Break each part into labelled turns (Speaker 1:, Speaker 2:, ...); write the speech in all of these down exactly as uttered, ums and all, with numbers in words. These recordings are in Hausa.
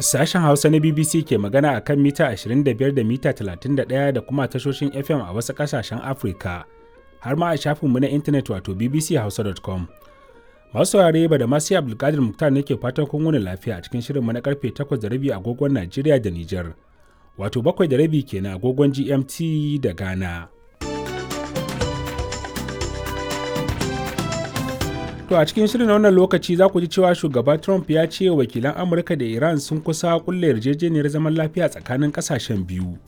Speaker 1: Sashen Hausa na B B C ke magana a kan mita ashirin da biyar da mita talatin da ɗaya da kuma tashoshin F M a wasu ƙasashen Afirka, har ma a shafinmu na intanet wato B B C hausa dot com. Masu saurare, ba da masu Abdulkadir Muktar ne ke fatan kun wuni lafiya a cikin shirinmu na karfe takwas da rabi agogon Najeriya da Nijar, wato bakwai da rabi kenan agogon G M T da Ghana. To a cikin shirin wannan lokaci za ku ji cewa shugaba Trump ya ce wakilan Amurka da Iran sun kusa kulle yarjejeniyar zaman lafiya tsakanin kasashen biyu.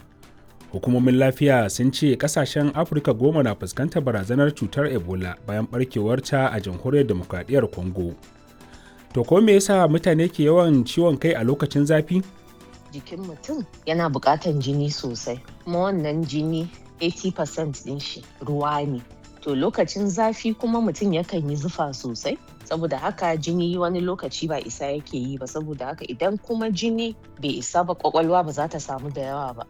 Speaker 1: Hukumomin lafiya sun ce kasashen Afirka goma na fuskantar barazanar cutar Ebola bayan barkewarta a Jamhuriyar Demokradiyyar Congo. To ko me yasa mutane ke yawan ciwon kai a lokacin zafi?
Speaker 2: Jikin mutum yana buƙatan jini sosai, kuma wannan jini kashi tamanin cikin ɗari ɗin shi ruwa ne. To lokacin zafi kuma mutum yakan yi zufa sosai, saboda haka jini wani lokaci ba isa yake yi ba, saboda haka idan kuma jini bai isa ba, kwakwalwa ba za ta samu da yawa ba.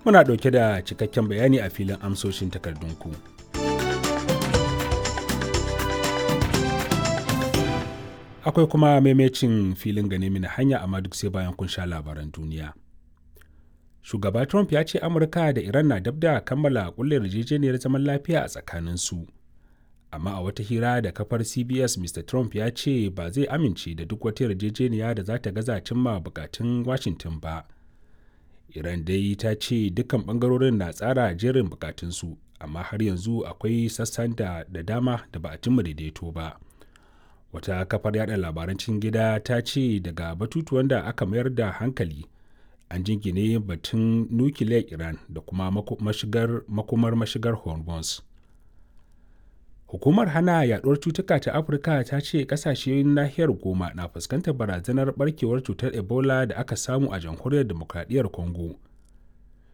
Speaker 1: Muna ɗauke da cikakken bayani a filin amsoshin takardunku. Akwai kuma maimacin filin gane mini hanya, amma duk sai bayan kun sha labaran duniya. Shugaba Trump ya ce Amurka da Iran na dab da kammala kulle yarjejeniyar zaman lafiya a tsakaninsu. Amma a wata hira da kafar C B S, Mister Trump ya ce ba zai amince da duk wata yarjejeniya da za ta gaza cimma bukatun Washington ba. Iran dai ta ce dukkan bangarorin na tsara jerin bukatunsu, amma har yanzu akwai sassan da da dama da ba a cimma daidaito ba. Wata kafar yada labaran cikin gida ta ce daga batutuwan da aka mayar da hankali an jingine batun nukiliyar Iran da kuma mashigar, makomar mashigar Hormuz. Hukumar hana yaduwar cutuka ta Afirka ta ce kasashen nahiyar goma na fuskantar barazanar barkewar cutar Ebola da aka samu a Jamhuriyar Demokradiyyar Congo.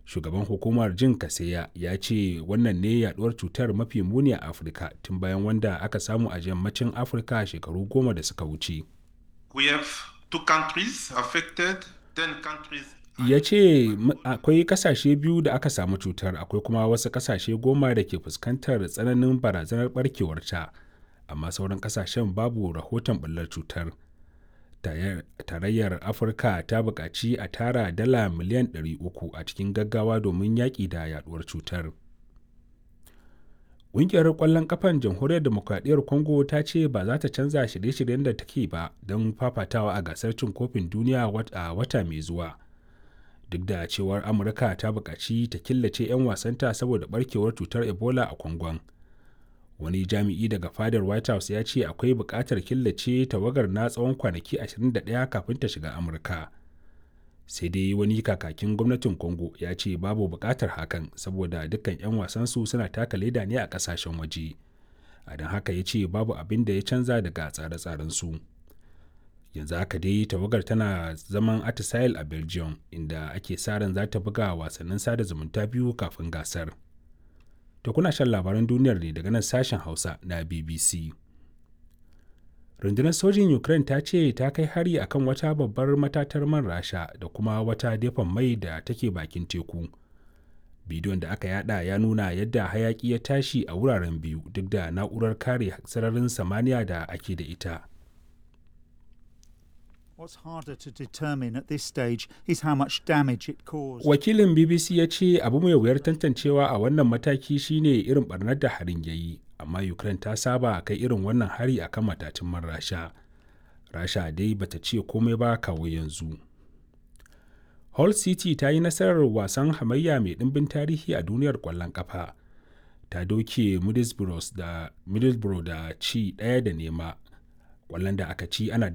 Speaker 1: Shugaban hukumar Jin Kaseya ya ce wannan ne yaduwar cutar mafi muni a Afirka tun bayan wanda aka samu a yammacin Afirka shekaru goma da suka wuce.
Speaker 3: We have two countries affected, ten countries.
Speaker 1: Ya ce akwai kasashe biyu da aka samu cutar, akwai kuma wasu kasashe goma da ke fuskantar tsananin barazanar barkewarta, amma sauran kasashen babu rahoton bullar cutar. Tarayyar Afirka ta buƙaci a tara dala miliyan ɗari uku a cikin gaggawa domin yaƙi da yaduwar cutar. Ƙungiyar ƙwallon ƙafan Jamhuriyar Demokradiyyar Congo ta ce ba za ta canza shirye-shiryen da take ba don fafatawa a gasar cin kofin duniya a wata mai zuwa, duk da cewar Amurka ta buƙaci ta killace 'yan wasanta saboda barkewar cutar Ebola a Kwangon. Wani jami'i daga fadar White House ya ce akwai buƙatar killace tawagar na tsawon kwanaki ashirin da ɗaya kafin ta shiga Amurka. Sai dai wani kakakin gwamnatin Congo ya ce babu buƙatar hakan saboda dukkan 'yan wasansu suna taka leda ne a ƙasashen waje, a don haka ya ce babu abin da ya canza daga tsare-tsarensu su. Yanzu haka dai tawagar tana zaman atisaye a Belgium, inda ake sa ran za ta buga wasannin sada zumunta biyu kafin gasar. To kuna shan labaran duniyar ne daga nan Sashen Hausa na B B C. Rundunar sojin Ukraine ta ce ta kai hari akan wata babbar matatar man Rasha da kuma wata dafan mai da take bakin teku. Bidiyon da aka yada ya nuna yadda hayaki ya tashi a wuraren biyu duk da na'urar kare sararin samaniya da ake da ita. Wakilin B B C ya ce abu mai wuyar tantancewa a wannan mataki shine irin barnar da harin ya yi, amma Ukraine ta saba kai irin wannan hari akan matacin man Rasha. Rasha dai bata ce komai ba kawo yanzu. Hull City ta yi nasarar wasan hamayya mai ɗimbin tarihi a duniyar ƙwallon ƙafa. Ta doke Middlesbrough da, Middlesbrough da ci ɗaya da nema. Ƙwallon da aka ci ana